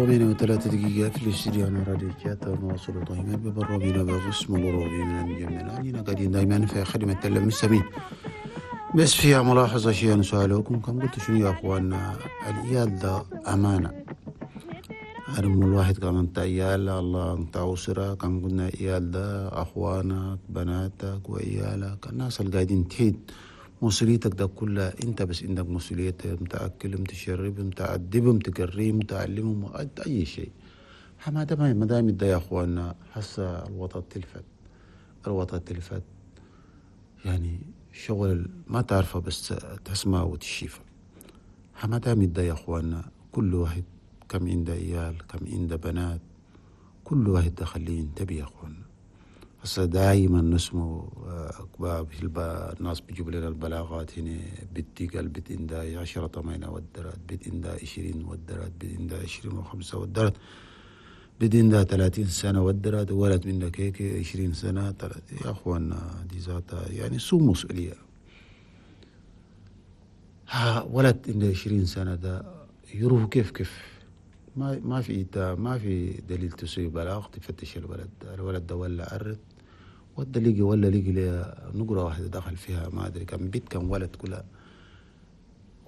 8:03 في الاستديو على راديو تشات. نواصل دائما ببرنامجنا بقسم الروبي من المجمع. أننا قاعدين دائما في خدمة المستمعين. بس فيها ملاحظة شيء نسألكم، كم قلت شنو يا أخواننا؟ العيال ده أمانة. أرمو الواحد كمان انت عيال الله انت أسرة، كم قلنا عيال ده أخوانك بناتك وعيالك الناس اللي قاعدين تحيد مسؤوليتك ده كلها انت، بس عندك مسؤولية تأكلهم تشربهم تأدبهم تقريهم تعلمهم أي شيء. ما دام ما دام ده يا أخواننا حس الوطن تلفت، الوطن تلفت، يعني شغل ما تعرفه بس تسمع وتشيفه. ما دام ده يا أخواننا كل واحد كم عنده عيال كم عنده بنات، كل واحد دخليه ينتبه يا أخواننا. هسه دايما نسمو الناس بيجيبوا لنا البلاغات هنا، بنتي قال بنت عندها 10 8 ودرات، بنت عندها 20 ودرات، بنت عندها 25 ودرات، بنت عندها 30 سنة ودرات، ولد منك هيك 20 سنة 30. يا أخواننا دي ذاتها يعني سو مسؤولية. ها ولد عنده 20 سنة ده يروح كيف كيف؟ ما في ما في دليل تسوي بلاغ تفتش الولد ده، الولد ده ولا أرد ود لقي ولا لقي لي نقرة واحدة دخل فيها ما أدري كم بيت كم ولد، كلها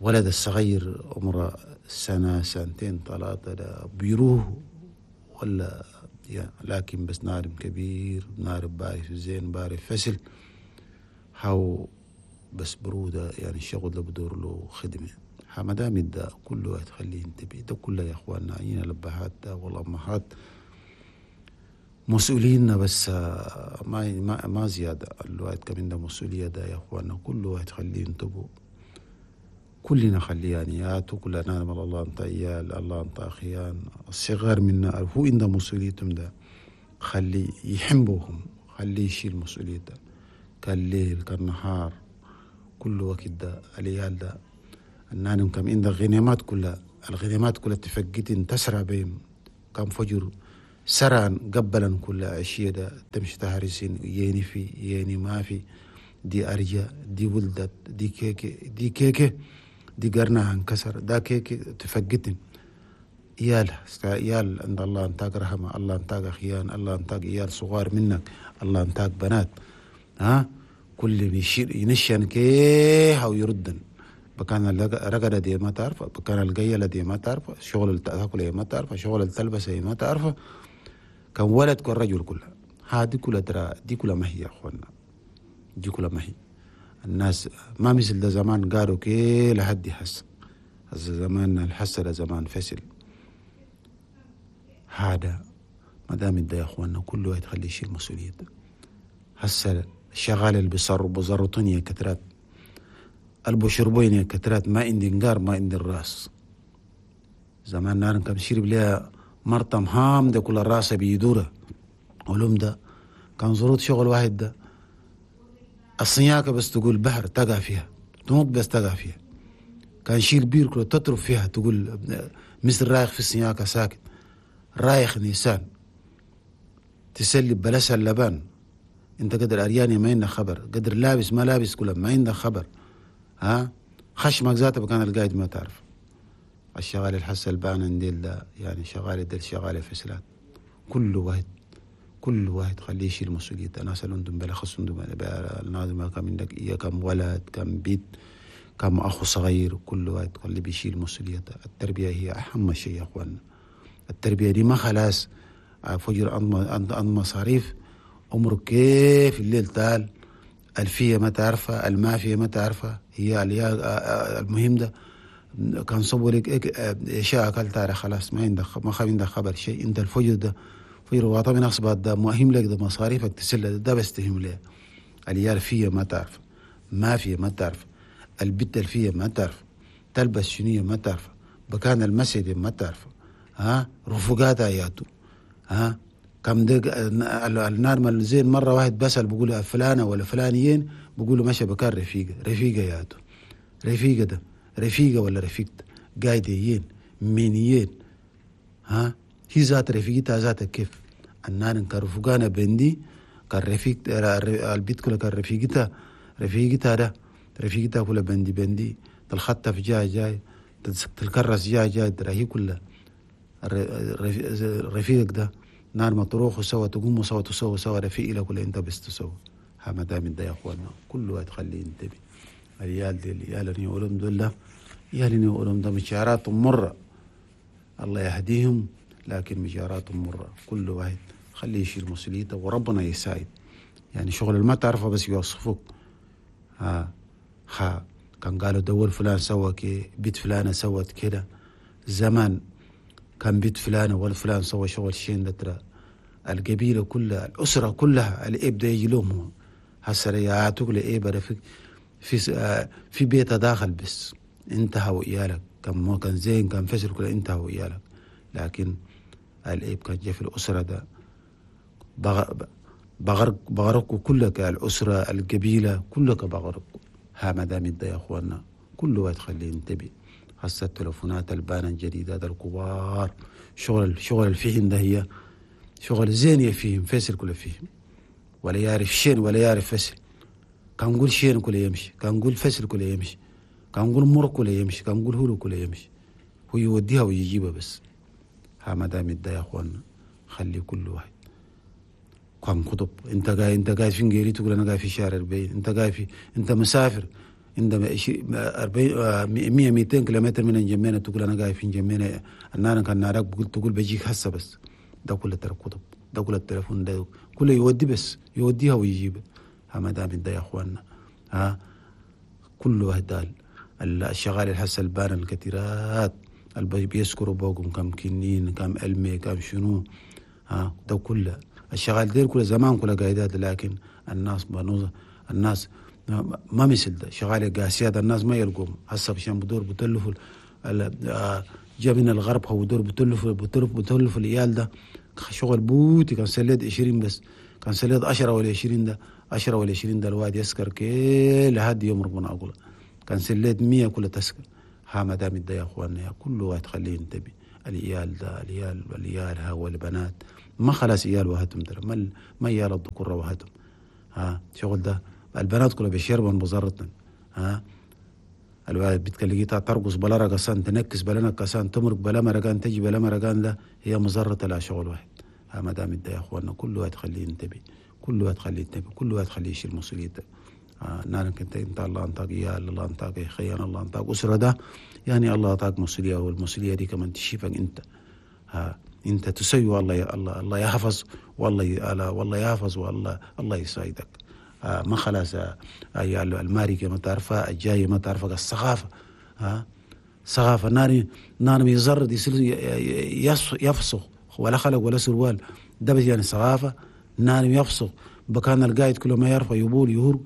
ولد الصغير عمره سنة سنتين ثلاثة ده بيروح ولا يعني، لكن بس نارم كبير نارم بارف زين بارف فسل هاو بس برودة، يعني الشغل ده بدور له خدمة. ما دام ده كله تخليه ينتبه ده كله يا اخواننا، عينا الابهات والامهات مسؤولين بس ما ما زياده. الواحد كمان ده مسؤوليه ده يا اخواننا، كل واحد خليه ينتبه، كلنا خليه يعني كلنا نعلم الله انت عيال الله انت اخيان الصغار منا هو عنده مسؤوليتهم ده، خليه يحبوهم، خليه يشيل مسؤوليته ده، كالليل كالنهار كل وقت ده العيال ده النانم كم عندك غنيمات كلها، الغنيمات كلها تفقتن تسرع بهم كم فجر سرعا قبلا كل عشية ده تمشي تهرسين يني في يني ما في دي أرجا دي ولدت دي كيكة دي كيكة دي قرنها انكسر ده كيكة تفقتن. إيال إيال عند الله انتاك رحمة، الله انتاك أخيان، الله انتاك إيال صغار منك، الله انتاك بنات، ها كل يشير ينشن كيه أو يردن بكان الرقدة دي ما تعرف، بكان القيلة دي ما تعرف، شغل التأكل ما تعرف، شغل التلبسة ما تعرف، كان ولد كان رجل كلها هذه كلها ترى دي كلها ما هي يا أخوانا، دي كلها ما هي. الناس ما مثل ده زمان قالوا كي لحد يحس، هذا زمان الحس ده زمان فسل. هذا ما دام ده يا أخوانا كل واحد خليه يشيل مسؤولية. هسه الشغال اللي بيصروا بزرطوني كترات، البشربين كترات، ما عندي نقار ما عندي الراس. زمان نار كان شرب لها مرتم هام ده كل الراس بيدوره علوم ده كان ظروف شغل واحد ده الصياكة بس تقول بحر تقع فيها تنط بس تقع فيها، كان شيل بير كله تطرف فيها تقول مثل رايخ في الصياكة ساكت رايخ نيسان تسلب بلسها اللبان. انت قدر ارياني ما عندك خبر، قدر لابس ما لابس كله ما عندك خبر، ها خشمك ذاته بكان القايد ما تعرف. الشغال الحس البان عندي ده يعني شغال دل شغال فسلات، كل واحد كل واحد خليه يشيل مسؤولية. الناس اللي عندهم بلا خص عندهم الناس ما كان عندك إياه كم ولد كم بيت كم أخو صغير، كل واحد خليه بيشيل مسؤولية. التربية هي أهم شيء يا أخواننا. التربية دي ما خلاص فجر أن مصاريف عمرك كيف الليل تعال الفية ما تعرفها المافية ما تعرفها هي المهم ده كان صبوا لك اشياء اكلت خلاص ما عندك ما عندك خبر شيء. انت الفجر ده فجر واطا من اصبات ده مهم لك ده مصاريفك تسلة ده بس تهم ليه. العيال فية ما تعرف، ما فية ما تعرف، البت الفية ما تعرف، تلبس شنية ما تعرف، بكان المسجد ما تعرف، ها رفقاتها ياتو، ها كم دق النار مال زين مرة واحد بسأل بقول فلانة ولا فلانيين بقولوا ماشي بكان رفيقة رفيقة ياتو رفيقة ده رفيقة ولا رفيقة قايديين مينيين، ها هي ذات رفيقتها ذاتها كيف النار كان رفقانا بندي كان رفيق البيت كله كان رفيقتها رفيقتها ده رفيقتها كلها بندي بندي تلخطف جاي جاي تلكرس جاي جاي ترى هي كلها رفيقك ده نار ما تروحوا سوا، تقوموا سوا، تسووا سوا، رفيق لك ولا انت بس تسووا. ها ما دام ده يا اخوانا كل واحد خليه ينتبه. العيال دي، العيال اللي يقولون دول، العيال اللي يقولون ده مشاراتهم مرة، الله يهديهم، لكن مشاراتهم مرة. كل واحد خليه يشيل مسؤوليته وربنا يساعد. يعني شغل ما تعرفه بس يوصفوك. ها ها كان قالوا دول فلان سوى كي، بيت فلانة سوت كده، زمان كان بيت فلانة ولا فلان سوى شغل شين ده، ترى القبيلة كلها، الأسرة كلها، الإب ده يجي لهم هسه يعطوك لإب رفيق في بيته داخل بس انتهى وإيالك، كان ما كان زين كان فشل كله انتهى وإيالك. لكن الإب كان جا في الأسرة ده بغرقوا كلك، الأسرة القبيلة كلك بغرقوا. ها ما دام ده يا أخوانا كل واحد خليه ينتبه. هسه التلفونات البانة الجديدة الكبار، شغل الفهم ده هي شغل زين يفهم فيصل كله فيهم، ولا يعرف شين ولا يعرف فصل. كان نقول شين كله يمشي، كان نقول فصل كله يمشي، كان نقول مر كله يمشي، كان نقول هولو كله يمشي، هو يوديها ويجيبها بس. ها ما دام ده يا اخوانا خلي كل واحد كان خطب. انت قاعد في انجيري تقول انا قاعد في شارع 40، انت قاعد في، انت مسافر انت 40 100 200 كيلومتر من انجمينة تقول انا قاعد في انجمينة، انا كان نارك تقول بجيك هسه بس. ده كله ترى كتب، ده كله التليفون ده كله يودي بس، يوديها ويجيبها. ها ما دام ده يا اخوانا ها كل واحد الشغال الحس البان الكثيرات اللي بيسكروا بوقهم كم كنين كم علمي كم شنو، ها ده كله الشغال دير كله زمان كله قايدات. لكن الناس بنوز الناس ما مثل ده شغال قاسيات الناس ما يلقوهم هسه عشان بدور بتلفوا جا من الغرب هو بدور بتلفوا العيال ده شغل بوتي. كان سليت 20 بس، كان سليت 10 ولا 20 ده 10 ولا 20 ده الواد يسكر كل لحد يوم ربنا أقوله. كان سليت 100 كله تسكر. ها ما دام ده يا اخواننا يا كل واحد خليه ينتبه. العيال ده العيال ها والبنات ما خلاص عيال وهتم ترى ما عيال الذكور وهتم. ها شغل ده البنات كلها بيشربن بزرتن. ها الواحد بتكلقيتها ترقص بلا رقصان، تنكس بلا نكسان، تمرق بلا مرقان، تجي بلا مرقان، ده هي مزرة لا شغل واحد. ها ما دام ده يا اخواننا كل واحد خليه ينتبه، كل واحد خليه ينتبه، كل واحد خليه يشيل مسؤوليته. نارك انت الله انطاك عيال، الله انطاك خيان، الله انطاك اسره ده يعني الله اعطاك مسؤوليه، والمسؤوليه دي كمان تشيفك انت. ها انت تسوي الله الله الله يحفظ، والله والله يحفظ، والله الله يساعدك. ما خلاص الماركه ما تعرفها، الجايه ما تعرفها، الثقافه. ها ثقافه نار يزرد يفسخ ولا خلق ولا سروال ده بس يعني ثقافه. نار يفسخ بكان القايد كله ما يعرفه يبول يهور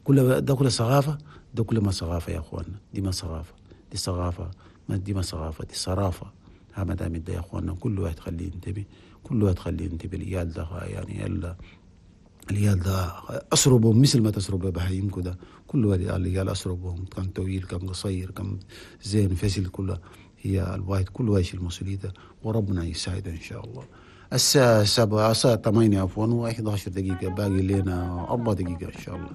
كل ده كله ثقافه. ده كله ما ثقافه يا اخواننا، دي ما ثقافه، دي ثقافه ما دي ما ثقافه، دي صرافه. ها ما دام ده يا اخواننا كل واحد خليه ينتبه، كل واحد خليه ينتبه. العيال ده يعني العيال ده أسربهم مثل ما تسرب بهايمكم ده، كل واحد العيال أسربهم كان طويل كان قصير كان زين فسل كله هي الواحد كل واحد يشيل مسؤوليته وربنا يساعده إن شاء الله. الساعة 7 الساعة 8 عفوا و11 دقيقة، باقي لنا 4 دقيقة إن شاء الله.